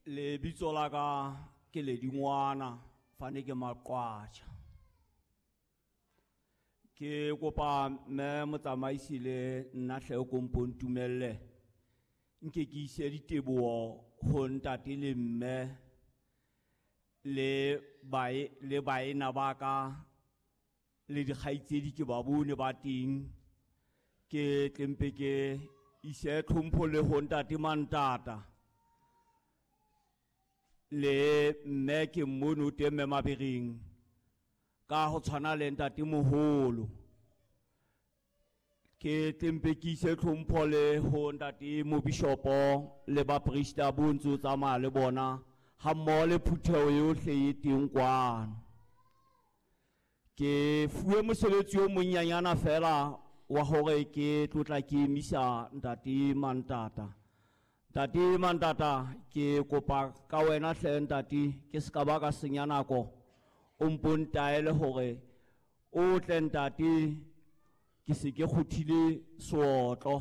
Lebitso la ka ke Ledingwana fane ke Maqwatjha. Ke kopa mme motsamaisi le nna hle o kompo ntumelle nke ke ise diteboho ho ntate le mme le bae le baena ba ka le dikgaitsedi ke ba bone ba teng. Ke tlempe ke ise tlhompho le ho ntate Mantata le mme ke mmone o teng mme Mabereng ka ho tshwana le ntate moholo. Ke tlempe ke ise tlhompho le ho ntate mobishopo le baprista bo ntse o tsamaya le bona ha mmoho le phutheho yohle e teng kwano. Ke fuwe mosebetsi o monnyanyana fela wa hore ke tlotla ke emisa ntate Mantata. Ntate Mantata, ke kopa ka wena hle ntate, ke se ka ba ka senya nako, o mpo ntaele hore o tle ntate, ke se ke kgothile seotlo.